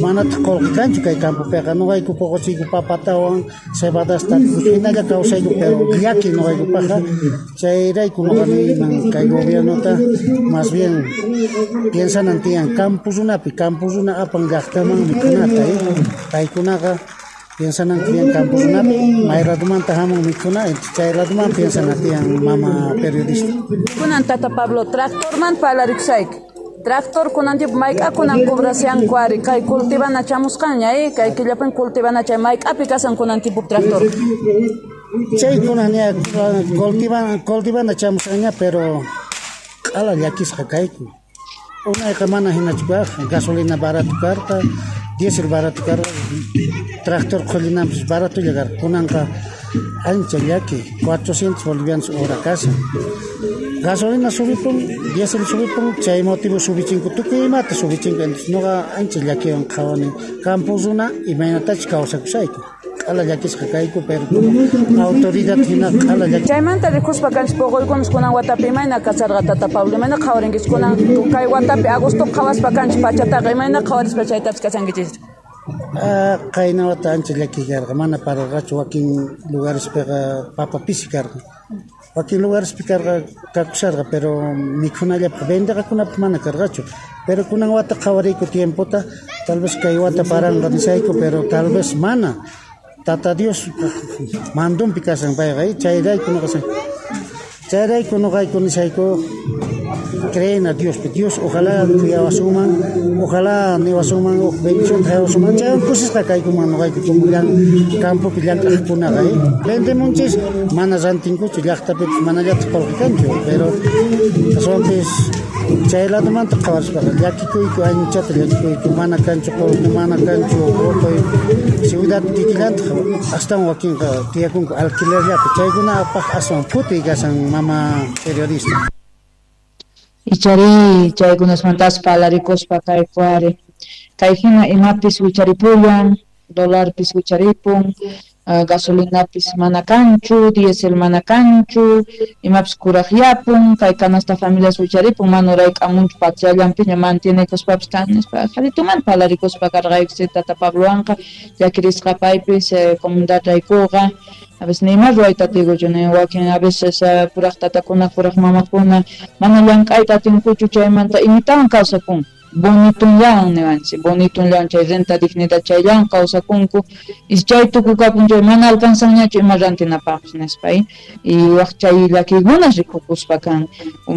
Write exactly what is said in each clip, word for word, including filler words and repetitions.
Manataq qullqi kanchu kay campopiqa, nuqayku puquchiyku papatawan cebadasta hinalla kawsayku, pero llaki nuqaykupaqqa. Chayrayku nuqa niyman kay gobiernota más bien piensanan tiyan campo runapi, campo runa apan llaqtaman mikhunata, eh? Paykunaqa piensanan tiyan campo runapi, may ratumanta hamun mikhuna, chay ratuman piensana tiyan, mama periodista. Kunan tata Pablo, tractorman parlarikusayki. Tractor kunan tiempo mayk'a kunan cobrasianku ari kay cultivana chamusqanña, eh? Kay killapin cultivana chay mayk'api kasan kunan tiempo tractor. Chay kunan ña cultivana cultivana chamusqanña, pero q'ala llakisqa kayku. Unayqa mana hinachu kaq, gasolina barato karqa, diésel barato karqa, tractor qhullinanpis baratolla karqa. Kunanqa ancha llaki, cuatrocientos bolivianos hora kashan. Gasolina subipun, diésel subipun, chay motivo subichinku, tukuy imata subichinku. Entonces nuqa ancha llakiwan qhawani campo runa imaynatachus kawsakushayku. Q'ala llakisqa kayku, pero como autoridad hina q'ala llaki. Chaymanta rikuspa kanchis puquykunas kunan watapi imayna kasarqa tata Pablo, imayna qhawarinkichis kunan kay watapi agosto qhawaspa kanchis pachataqa, imayna qhawarispa chaytapis kasankichis? Ah, qayna wata ancha llaki karqa, mana pararqachu, wakin lugarespiqa papa pisi karqa. Wakin lugarespi karqa kakusharqa, pero mikhunallapaq vendeqakunapaq mana karqachu. Pero kunan wata qhawariyku tiempota, tal vez kay wata paranqa nisayku, pero tal vez mana. Tata Dios mandunpi kashan payqa, eh? Chayrayku nuqa chayrayku nuqayku nisayku creen a Dios, Dios ojalá cuyawasunman, ojalá niwasunman uj bendición traewasunman, chaywan kusisqa kaykuman nuqayku como llan campopi llank'aqkunaqa, eh? Vendemunchis mana rantinkuchu, llaqtapipis manallataq qullqi kanchu, pero aswanpis chay ladomanta qhawarispaqa llakikuyku, anchata llakikuyku, mana kanchu qullqi, mana kanchu uquy, ciudad kikillantaq astawan wakinqa tiyakunku alquilerllapi, chaykunapaq aswan phutiy kashan, mama periodista. Ichari chaykunasmantas parlarikuspa kayku ari kay hina imapis wicharipullan, dolarpis wicharipun, uh, gasolinapis mana kanchu, diésel mana kanchu, imapis kuraqyapun, kay canasta familias wicharipun, mana urayk'amunchu patriallanpiña mantienekuspapis kan nispa qharituman parlarikuspa karqayku tata Pablowanqa llakirisqa paypis eh, comunidad raykuqa. A veces ni más ruwayta atiykuchu, ni wakin a veces uh, puraq tatakuna, puraq mamakuna mana llank'ayta atinkuchu chaymanta imitawan kawsakun. Bonitunllawan niwanchik, bonitunllawan chay renta dignidad chayllawan kawsakunku, y chay tukukapun chay mana alcanzanñachu ima rantinapaqpis nispa, y waq chay llakiykunas rikukuspa kan,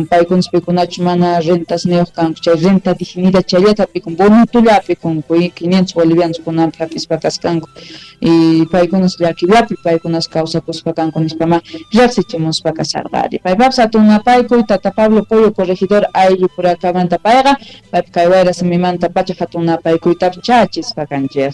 paykunas pikunachu mana rentas niyuq kanku, chay renta dignidad chayllata hap'ikun, bonitulla hap'ikunku, y quinientos bolivianos kunanpi hap'ispa kaskanku, y paykunas llakillapi paykunas kawsakuspa kanku nispa ma riqsichimuspa kasarqa ari. Paypapis hatun napaykuy tata Pablo Pollo corregidor ayllu purakamanta payqa, paypi kay wayra simimanta pacha hatun napaykuytapis chachispa kanchik.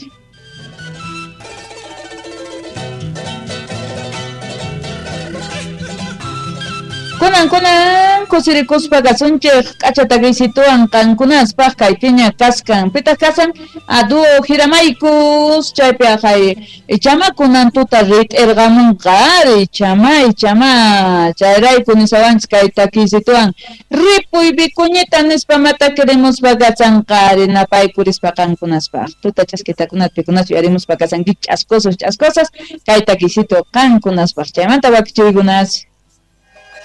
Kunan kunan kusirikuspa kasunchik k'acha takisituwan qankunaspaq kaypiña kaskan pitaq kasan a dúo Jiramaykus chaypi aqhay ichama kunan tuta rit'irqamunqa ari ichama ichama chayrayku nisawanchik kay takisituwan ripuy vicuñita nispa matakirimuspa kasanqa ari napaykurispa qankunaspaq tuta chaskitakunata pikunachu yarimuspa kasanki ch'askosos ch'askosas kay takisitu qankunaspaq chaymanta wakichiykunas.